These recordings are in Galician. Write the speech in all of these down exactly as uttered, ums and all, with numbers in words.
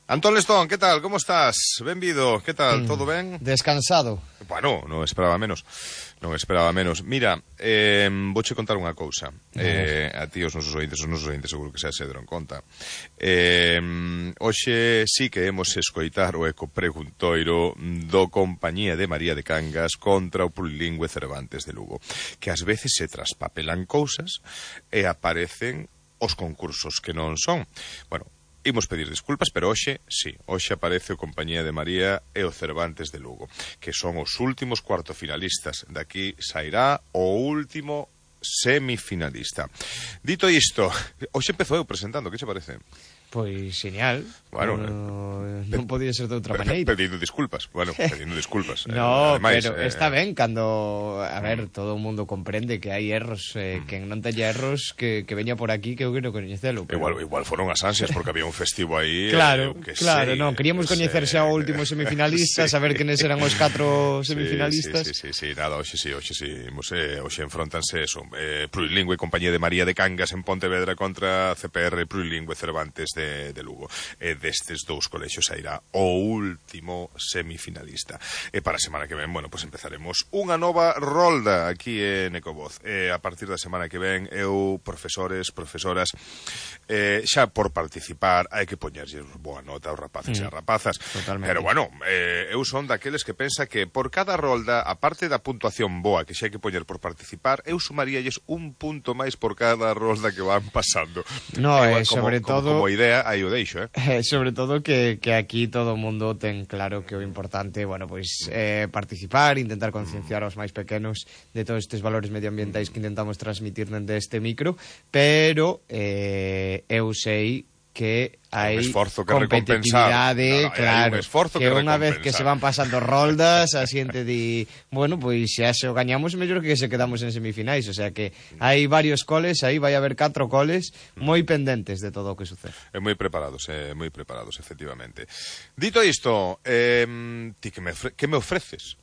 Antón Lestón, que tal? Como estás? Benvido, que tal? Mm, Todo ben? Descansado. Bueno, non esperaba menos. Non esperaba menos. Mira, eh, vouche contar unha cousa. Eh, a ti, os nosos ointes, os nosos ointes seguro que xa se deron conta. Eh, hoxe sí que hemos escoitar o eco preguntoiro do Compañía de María de Cangas contra o Plurilingüe Cervantes de Lugo. Que ás veces se traspapelan cousas e aparecen os concursos que non son. Bueno, imos pedir disculpas, pero hoxe, sí, hoxe aparece o Compañía de María e o Cervantes de Lugo, que son os últimos cuartofinalistas. Daqui sairá o último semifinalista. Dito isto, hoxe empezou eu presentando, que che parece? Pois genial. Bueno, no, non podía ser de outra maneira. Pedindo disculpas, bueno, pedindo disculpas. No, eh, ademais, pero eh, está ben cando, a ver, todo o mundo comprende que hai erros, eh, mm. quen non teña erros que, que veña por aquí que eu quero coñecelo. Pero... Igual, igual foron as ansias porque había un festivo aí. Claro, eh, que claro, sei, non, queríamos coñecer xa o último semifinalista, sí. Saber quenes eran os catro semifinalistas. Sí, sí, sí, sí, sí, nada, hoxe sí, hoxe sí, eh, hoxe enfrontanse eso, eh, Plurilingüe Compañía de María de Cangas en Pontevedra contra C P R Plurilingüe Cervantes de, de Lugo. E destes dous colexios sairá o último semifinalista. E para a semana que ven, bueno, pues empezaremos unha nova rolda aquí en Ecovoz. E a partir da semana que ven, eu, profesores, profesoras, eh, xa por participar hai que poñerlle boa nota aos rapaces mm. e as rapazas. Totalmente. Pero bueno, eh, eu son daqueles que pensa que por cada rolda, a parte da puntuación boa que xa hai que poñer por participar, eu sumaríalles un punto máis por cada rolda que van pasando. No, Igual, eh, sobre como, todo... Como, como idea, aí o deixo, eh? Eh, sobre todo que, que aquí todo o mundo ten claro que o importante, bueno, pois eh, participar, intentar concienciar aos máis pequenos de todos estes valores medioambientais que intentamos transmitir dende este micro, pero eh, eu sei que hai competitividade, no, no, claro, que, que unha vez que se van pasando roldas, a xente di, bueno, pois xa se o gañamos mellor que se quedamos en semifinais, o sea que hai varios coles, aí vai haber catro coles moi pendentes de todo o que sucede. É moi preparados, é moi preparados, efectivamente. Dito isto, eh, ti que me, que me ofreces?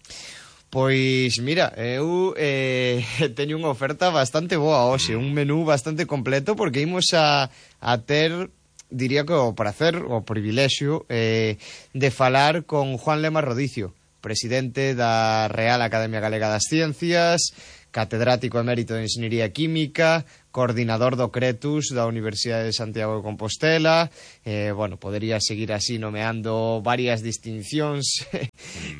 Pois, mira, eu eh, teño unha oferta bastante boa hoxe, un menú bastante completo, porque imos a, a ter... diría que o prazer, o privilexio eh, de falar con Juan Lema Rodicio, presidente da Real Academia Galega das Ciencias, catedrático emérito de Enxeñería Química, coordinador do Cretus da Universidade de Santiago de Compostela, eh, bueno, podería seguir así nomeando varias distincións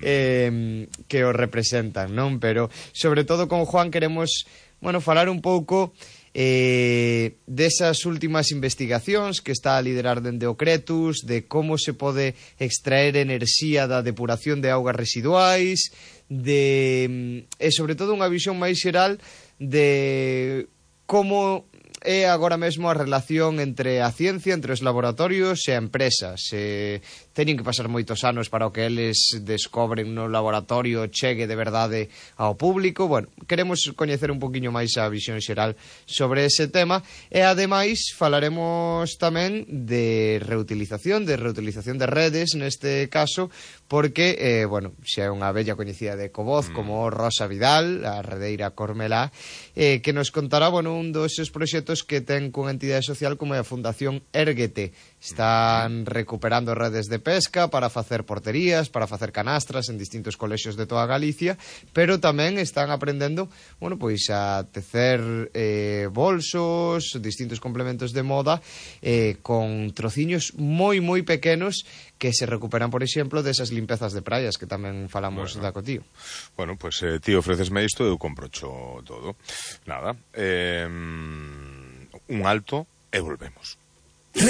eh, que o representan, non? Pero, sobre todo con Juan queremos, bueno, falar un pouco... Eh, desas últimas investigacións que está a liderar dende o Cretus, de como se pode extraer enerxía da depuración de augas residuais, de, e sobre todo unha visión máis xeral de como é agora mesmo a relación entre a ciencia, entre os laboratorios e a empresa. Se teñen que pasar moitos anos para o que eles descobren no laboratorio chegue de verdade ao público. Bueno, queremos coñecer un poquinho máis a visión xeral sobre ese tema e ademais falaremos tamén de reutilización, de reutilización de redes neste caso, porque, eh, bueno, xa é unha bella coñecida de Ecovoz mm. como Rosa Vidal, a redeira Cormelá, eh, que nos contará, bueno, un dos seus proxectos que ten cunha entidade social como é a Fundación Érguete. Están recuperando redes de pesca para facer porterías, para facer canastras en distintos colexios de toda Galicia, pero tamén están aprendendo, bueno, pois a tecer eh, bolsos, distintos complementos de moda eh, con trociños moi moi pequenos que se recuperan, por exemplo, desas limpezas de praias que tamén falamos bueno, da Cotío. Bueno, pois pues, eh, ti ofrecesme isto, eu comprocho todo. Nada, eh, un alto e volvemos.